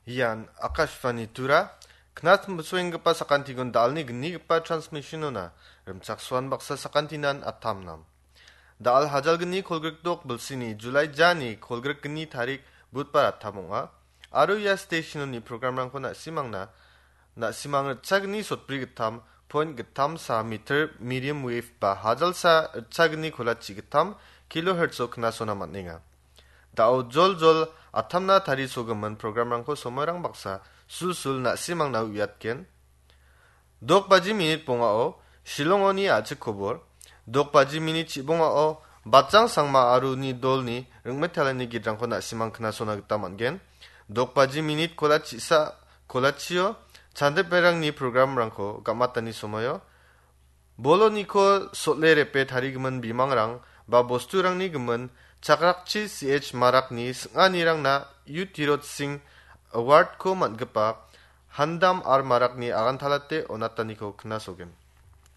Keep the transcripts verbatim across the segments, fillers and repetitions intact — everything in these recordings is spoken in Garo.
Ian Akashvani Tura, knatmsoenggipa sakantikon dalni gnigipa transmission-ona rimchaksoan baksa sakantinan atamnam. Dal hajalgni kolgrikdok bilsini July jani kolgrikgni tarik Budbar atam ong·a. Aro ia station-oni programrangko na·simangna, na·simang ritchagni sotbri gittam point gittam sa meter medium wave ba hajalsa ritchagni kolachi gittam kilohertz-o knasona man·enga. Da·o jol jol atamna tarisogimin programrangko somoirang baksa sulsul na·simangna uiatgen. Dok baji minit bongao Shillongoni a·chik kobor, dok baji minit chibongao Batjang Sangma aro uni dolni ringmetalani gidrangko na·simang knasona gita man·gen. Dok baji minit kola chisa, kolachio Chandip Berangni programrangko gamatani somoio Boloniko sot·le repe tarigimin bimangrang ba bosturangni gimin chakrakchi C H Marakni sing·anirangna U Tirot Singh Award-ko man·gipa Handam R Marakni agantalate onataniko knasogen.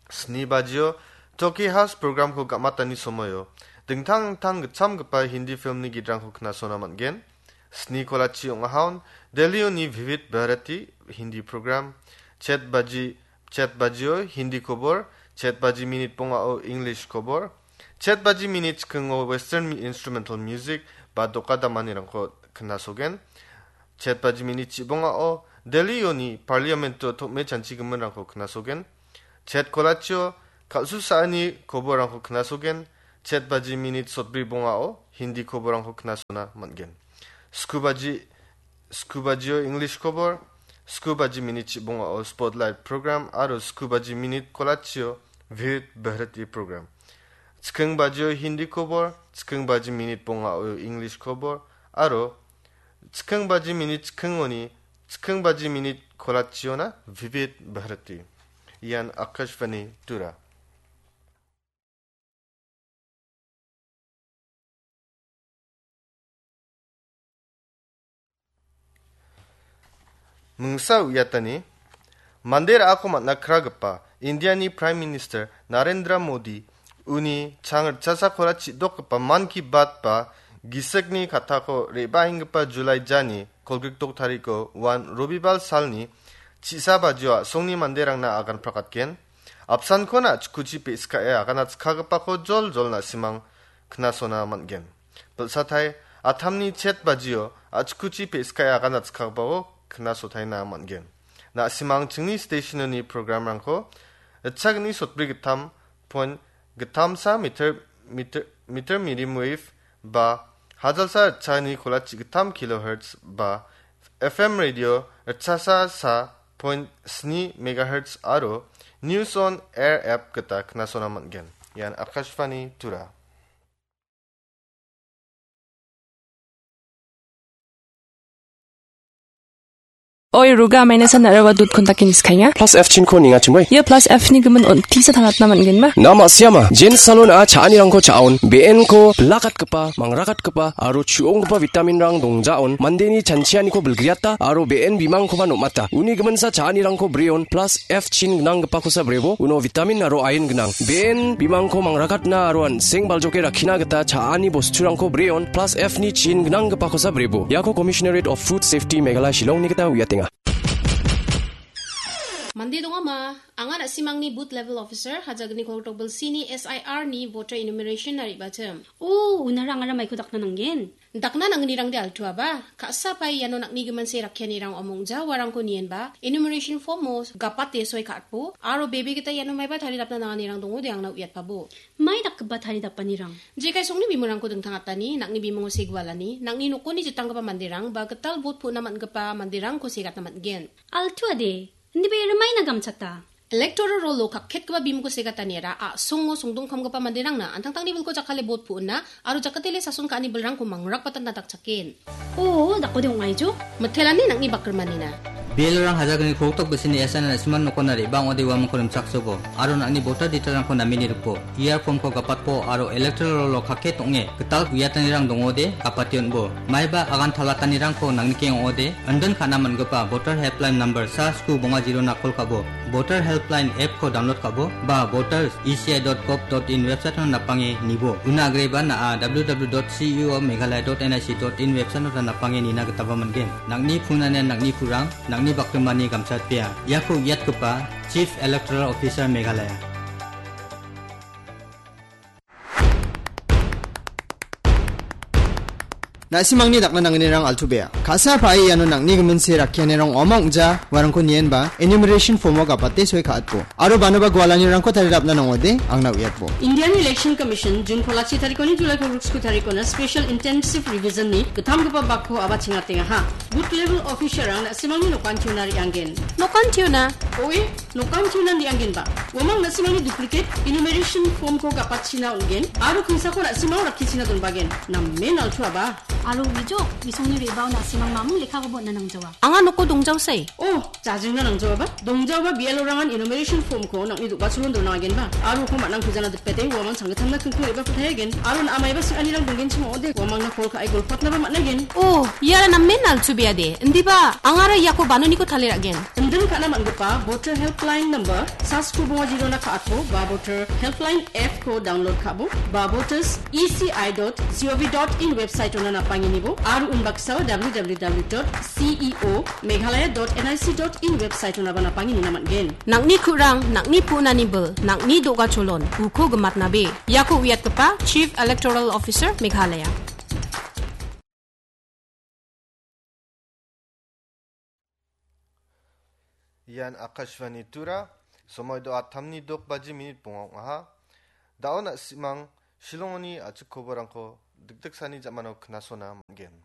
Sni bajio Toki House programko gamatani somoio dingtang dingtang gitchamgipa Hindi filmni gidrangko knasona man·gen. Sni kolachi ong·ahaon Delhi-oni Vividh Bharati Hindi program, chet baji, chet bajio Hindi kobor, chet baji minit bongao English kobor, chet baji minit chikingo Western mi-, instrumental music ba doka damanirangko knasogen. Chet baji minit chibongao Delhi-oni Parliament-o tom·e chanchigiminrangko knasogen. Chet kolachio kal·susaani koborrangko knasogen. Chet baji minit sotbri bongao Hindi koborrangko knasona man·gen. Sku baji, sku bajio English kobor, sku baji minit chibongao Spotlight program aro sku baji minit kolachio Vividh Bharati program. Chiking bajio Hindi kobor, chiking baji minit bongao English kobor aro chiking baji minit chikingoni chiking baji minit kolachiona Vividh Bharati. Ian Akashvani Tura. Mingsa uiatani, mande ra·ako man·a kragipa Indiani Prime Minister Narendra Modi uni chang ritchasakora chi·dokgipa Mann Ki Baat ba gisikni kattako re·baenggipa July jani kolgrikdok tariko uan Robibal salni chisa bajio a·songni manderangna agan prakatgen. Apsankon a·chikuchi pe·skae aganatskagipako jol jol na·simang knasona man·gen. Bilsatai atamni chet bajio a·chikuchi pe·skae aganatskagipako knasotaina man·gen. Na·simang chingni stationoni programrangko ritchagni sotbri gittam point gittamsa meter, meter, meter medium wave ba hajalsa ritchagni kolachi gittam kilohertz ba F M radio ritchasa sa point sni megahertz aro News on Air app gita knasona man·gen. Ian Akashvani Tura. Oi, Ruga, maina san nara wa dut kontak ini skainga. Plus F chinko ninga chimoi. Ia plus F ni gimin on tisa tangatna man·gen ma? Nama siama, Jen Salon a cha·anirangko cha·on, B N ko blakat kepa, mangrakatkepa aro chu·onggipa vitaminrang dongjaon, mandeni chanchianiko bilgriata aro be·en bimangkoba nom·ata. Uni giminsa cha·anirangko breon plus F chin gnanggipakosa brebo, uno vitamin aro ain gnang. Be·en bimangko mangrakatna aro an·seng baljoke rakkina gita cha·ani bosturangko breon plus F ni chin gnanggipakosa brebo. Iako Commissionerate of Food Safety Meghalaya Shillongni gita uiatenga. Mande dongama, anga na·simangni Booth Level Officer, hajagni kolgrikdok bilsini S I R ni voter enumeration-na re·bachim. O, unara angara maiko dakna nanggen? Dakna nangnirangde altuaba, ka·sa pai iano nang·ni gimin se rakkianirang omongja uarangko nienba, enumeration form-o gapate soi ka·atbo, aro bebe gita iano maiba taridapna nanganirang dongode angna uiatpabo. Mai dakgipa taridapanirang? Jekai songni bimungrangko dingtangatani, nang·ni bimungo segualani, nang·ni nokoni jitanggipa manderang, ba gital vote pu·na man·gipa manderangko segatna man·gen. Altuade, indiba iara maina gamchata? Electoral roll-o kakketgipa bimungko segataniara a·songo songdongkamgipa manderangna an·tangtangni bilko jakkale bot pu·ona aro jakatele sason ka·ani bilrangko mangrakbatna dakchaken. O, dakode ong·aijo? Mitelani nang·ni bakrimanina. B L O-rang hajalgni krongtok bisini S N R na·simang nokona re·bang ong·ode uamangko rimchaksobo, aro nang·ni voter detail-rangko nameni ripo, E R form-ko gapatpo, aro electoral roll-o kake tong·e gital uiatanirang dongode gapate on·bo. Maiba agan talatanirangko nangnikeng ong·ode, indin ka·na man·gipa voter helpline number sa sku bonga zero-na call ka·bo, voter helpline app-ko download ka·bo, ba voters E C I dot gov dot in website-ona napange nibo. Una agreba na·a W W W dot C E O Meghalaya dot N I C dot in website-ota napange nina gitaba man·gen. Nang·ni punanian nang·ni purang, nang·ni bakrimani gamchatpea. Iako uiatgipa Chief Electoral Officer Meghalaya. Na·simangni dakna nangnirang altu bea. Ka·sa pa·e iano nang·ni giminse rakkianirang ong·ama ong·ja, uarangko nienba, enumeration form-o gapate soi ka·atbo. Aro banoba gualanirangko tarirapna nangode, angna uiatbo. Indian Election Commission June kolachi tarikoni July kolgriksku tarikona Special Intensive Revision-ni gittamgipa bakko aba chingatengaha. Booth level officer-rang na·simangni nokantiona re·anggen. Nokantiona? Oe, nokantiona re·anggenba. Uamang na·simangni duplicate enumeration form-ko gapatchina on·gen, aro kingsako na·simang rakkichina donbagen. Namen altuaba. Aro uijo, bisongni re·bao na·simang mamung lekkakoba on·na nangjawa. Anga noko dongjaosai. Oh, jajingna nangjaoba. Dongjaoba B L O-rangan enumeration form-ko nang·ni do·gacholon donagenba. Aro uko man·ang pujana dipete, uamang sanggittamna kingko re·bako tayagen. Aro na·a maiba sing·anirang donggenchim ong·ode, uamangna call ka·e golpatnaba man·agen. Oh, iara namen altubeade. Indiba, angara iako banoniko taliragen. Indin ka·na man·gipa Voter Helpline number sa sku bonga zero-na ka·atbo, ba Voter Helpline app-ko download ka·bo, ba voters E C I dot gov dot in website-ona napangenibo, aro unbaksao W W W dot C E O Meghalaya dot N I C dot in website-onaba napangeni nina man·gen. Nang·ni ku·rang, nang·ni punani bil, nang·ni do·gacholon, uko gimatnabe. Iako uiatgipa Chief Electoral Officer Meghalaya. Ian Akashvani Tura, somoi do·a tamni dok baji minit bonga ong·aha. Da·o na·simang Shillongoni a·chik koborangko dikdiksani ja·mano knasona man·gen.